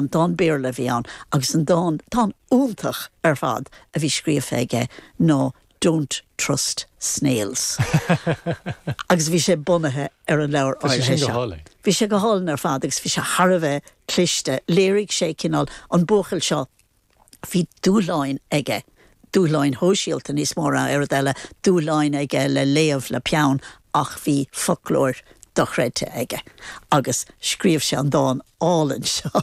Dán Béarla a bhí ann agus an dán, dán iontach ar fad a bhí scríofa aige ná Don't Trust Snails. Agus bhí sé bunaithe ar an leabhar Tá sé áirithe sin go seo. hálainn. Bhí sé go hálainn ar fad agus bhí sé thar a bheith cliste. Léirigh sé cineál an buachaill seo, bhí dúshláin aige, dúshláin shóisialta níos mó ná aon rud eile, dúshláin aige le léamh le peann ach bhí foclóir dochreidte aige agus scríobh sé an dán álainn seo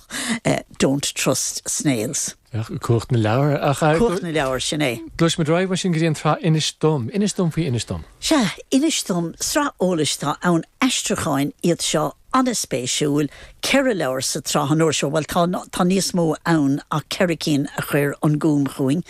Don't Trust Snails. Cumhacht na leabhar. Ach Cumhacht na leabhar, sin é. Gluaisfimid ar aghaidh mar sin go dtí an tsraith Inis Dom. Inis dom faoi Inis Dom. Sea, Inis Dom, sraith eolais atá ann, aistriúcháin iad seo an-spéisiúil, 4 leabhar sa tsraith an uair seo, bhuel tá, tá níos mó ann ach 4 cinn a chuir an Gúm chugainn.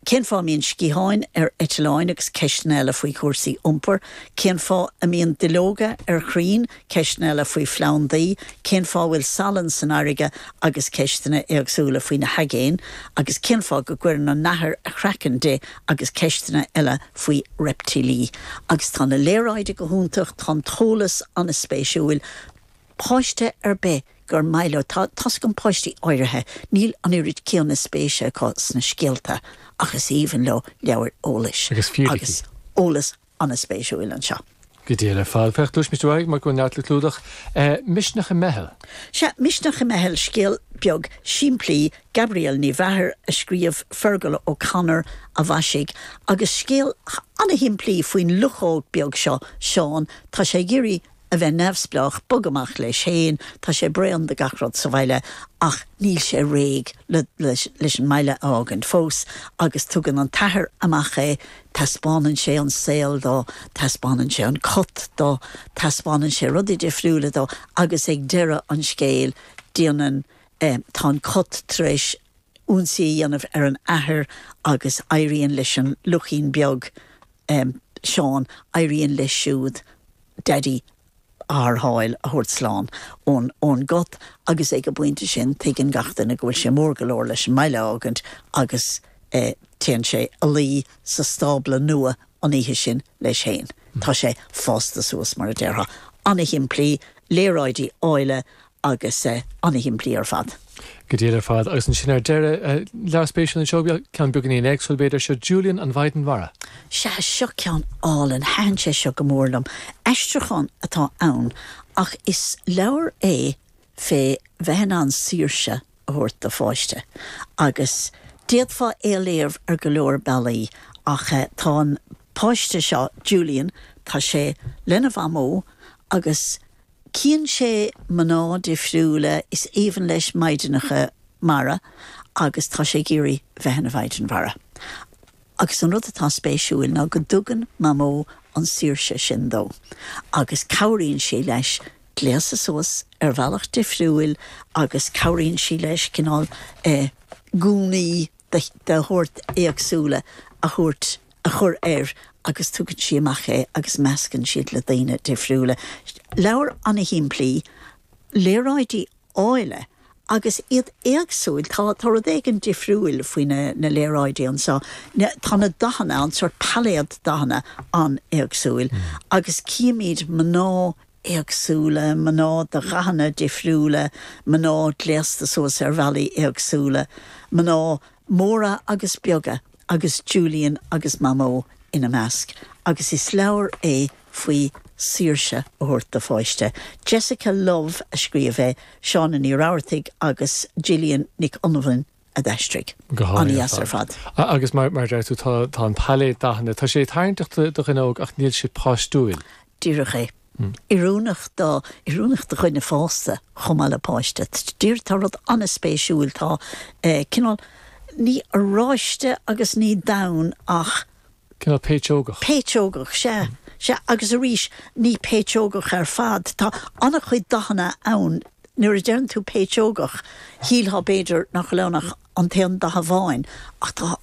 Cén fáth a mbíonn sciatháin ar eitleáin agus ceisteanna eile faoi chúrsaí iompair? Cén fáth a mbíonn duilleoga ar chrainn? Ceisteanna eile faoi phlandaí. Cén fáth a bhfuil salann san fharraige agus ceisteanna éagsúla faoi na haigéin agus cén fáth go gcuireann an nathair a craiceann di agus ceisteanna eile faoi reiptílí. Agus tá na léaráidí go hiontach, tá an t-eolas an-spéisiúil. Páiste ar bith gur maith leo, tá tá's agam páistí áirithe, níl an oiread céanna spéise acu sna scéalta ach is aoibhinn leo leabhair eolais. Agus fíricí. Agus eolas an-spéisiúil anseo. Go diail ar fad. Féach, gluaisfimid ar aghaidh mar go bhfuil neart le clúdach. Misneach i Meitheal. Sea, Misneach i Meitheal, scéal beag simplí, Gabrielle Ní Mheachair a scríobh, Fergal O'Connor a mhaisigh, agus scéal an-shimplí faoin luchóg beag seo, Seán. Tá sé ag iarraidh a bheith neamhspleách, bogadh amach leis féin, tá sé bréan de gach rud sa bhaile ach níl sé réidh le leis an mbaile a fhágaint fós agus tugann an t-athair amach é, taispeánann sé an saol dó, taispeánann sé an cat dó, taispeánann sé rudaí difriúla dó agus ag deireadh an scéil déanann, tá an cat tar éis ionsaí a dhéanamh ar an athair agus éiríonn leis an luchín beag, Seán, éiríonn leis siúd Daidí a tharrtháil, a thabhairt slán ón ón gcat agus ag an bpointe sin tuigeann gach duine go bhfuil sé mór go leor leis an mbaile a fhágaint agus téann sé a luí sa stábla nua an oíche sin leis féin. Tá sé fásta suas, mar a déarfá. Ana-shimplí, léaráidí áille agus ana-shimplí ar fad. Go diail ar fad. Agus ansin ar deireadh, leabhar spéisiúil anseo, ceann beagáinín éagsúil b'fhéidir, seo Julian an Mhaighdean Mhara. Sea, seo ceann álainn, thaitin sé seo go mór liom. Aistriúchán atá ann ach is leabhar é fé bheith in ann saoirse a thabhairt do pháiste agus d'fhéadfá é a léamh ar go leor bealaí ach tá an páiste seo, Julian, tá sé lena mhamó agus Cíonn sé mná difriúla, is aoibhinn leis maighdeanacha mara agus tá sé ag iarraidh bheith ina mhaighdean mhara. Agus an rud atá spéisiúil ná go dtugann Mamó an saoirse sin dó agus cabhraíonn sí leis gléasadh suas ar bhealach difriúil agus cabhraíonn sí leis cineál gúnaí de shórt éagsúla a thabhairt, a chur air agus tugann sí amach é agus meascann siad le daoine difriúla. Leabhar ana-shimplí, léaráidí áille agus iad éagsúil. Tá, tá rud éigin difriúil faoi na, na léaráidí anseo. Tá na dathanna, an sórt pailéad dathanna an-éagsúil agus címid mná éagsúla, mná de dhathanna difriúla, mná gléasta suas ar bhealaí éagsúla, mná móra agus beaga agus Julian agus Mamó ina measc agus is leabhar é faoi saoirse a thabhairt do pháiste. Jessica Love a scríobh é, Shauna Ní Rabhartaigh agus Gillian Nic Fhionnghain a d'aistrigh. Go hálainn An-dheas ar fad. Agus mar a deir tú, tá an pailéad dathanna, tá sé tarraingteach do dhuine óg ach níl sé páistiúil. Díreach é. Oiriúnach do, oiriúnach do dhuine fásta chomh maith le páiste. Díreach, tá rud an-spéisiúil, tá cineál, ní oráiste agus ní donn ach. Cineál péitseogach. Péitseogach, sea, sea. Agus arís, ní péitseogach ar fad. Tá an-chuid dathanna ann. Nuair a deireann tú péitseogach, shílfeá b'fhéidir nach bhfuil ann ach an t-aon dath amháin, ach tá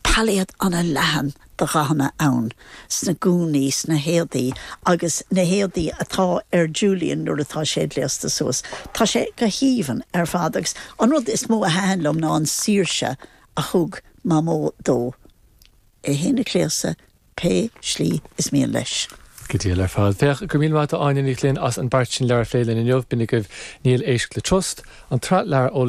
pailéad an-leathan de dhathanna ann, sna gúnaí, sna héadaí, agus na héadaí atá ar Julian nuair atá sé gléasta suas. Tá sé go haoibhinn ar fad agus an rud is mó a thaitin liom ná an saoirse a thug Mamó dó. É féin a ghléasadh pé slí is mian leis. Go diail ar fad. Féach, go raibh míle maith agat Áine Ní Ghlinn as an bpairt sin leabhar a phlé linn inniu. B'in agaibh Níl Éisc le Trust, an tsraith leabhar eolais.